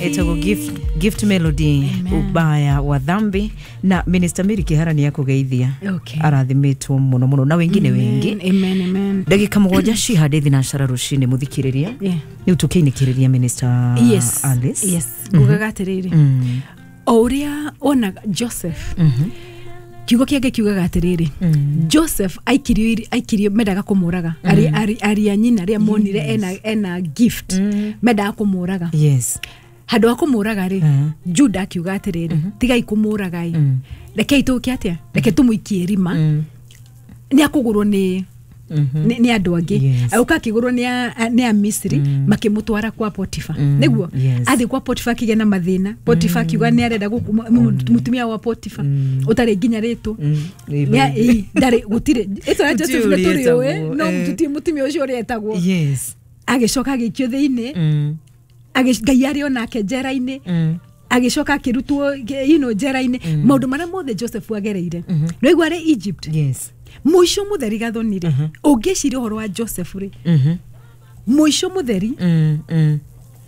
Etagwo Gift Melody. Amen. Ubaya wa dhambi na Minister Mary Kihara nĩ akũgeithia. Okay. Arathimĩtwo mũno mũno na wengine wengi. Amen, amen. Ndagĩka 7 cihande thinacara rũcinĩ, mũthikĩrĩria, rĩu tũkĩinĩkĩrĩria Minister Alice. Yes, ngugaga atĩrĩrĩ, o ũrĩa onaga Joseph, kiugo kĩangĩ kiugaga atĩrĩrĩ, Joseph aikirio mendaga kũmũraga. Ari a nyina rĩa monire ena gift, mendaga kũmũraga. Handũ ha kũmũraga rĩ, Juda akiuga atĩrĩrĩ, tigai kũmũraga ĩ, rekei tũke atĩa, reke tũmũikie rima, nĩ akũgũrwo nĩ andũ angĩ. Agũka akĩgũrwo nĩ a Misiri, makĩmũtwara kwa Potifa. Nĩguo athiĩ kwa Potifa akĩgĩa na mathĩna. Potifa akiuga nĩ arenda mũtumia wa Potifa ũtarĩ nginya rĩtwa. Ĩ, ndarĩ, gũtirĩ ĩtwa rĩa Joseph Gũtirĩ nĩ ũrĩa tũrĩũĩ, etagwo, no tũtirĩ mũtumia ũcio ũrĩa etagwo. Agĩcoka agĩikio thĩinĩ. Ngai arĩ onake njera-inĩ. Agĩcoka akĩrutwo njera-inĩ. Maũndũ marĩa mothe Joseph agereire, nĩwaigua arĩ Egypt, mũico mũtheri gathoni rĩ, ũngĩciria ũhoro wa Joseph rĩ, mũico mũtheri,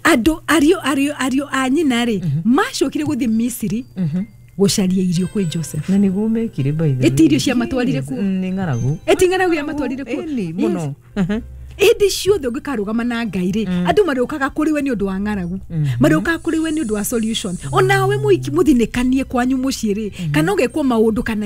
andũ ariũ a nyina rĩ, macokire gũthiĩ Misiri gũcaria irio kwĩ Joseph. Na nĩguo mekire, by the way. Ĩti irio ciamatwarire kuo. Nĩ ng'aragu. Ĩti ng'aragu yamatwarire kuo. Ĩni, mũno. Hĩndĩ ciothe ũngĩkarũgama na Ngai rĩ, andũ marĩũkaga kũrĩ we nĩ ũndũ wa ng'aragu, marĩũkaga kũrĩ we nĩ ũndũ wa solution. Onawe mũthinĩkanie kwanyu mũciĩ rĩ, kana ũgekwo maũndũ kana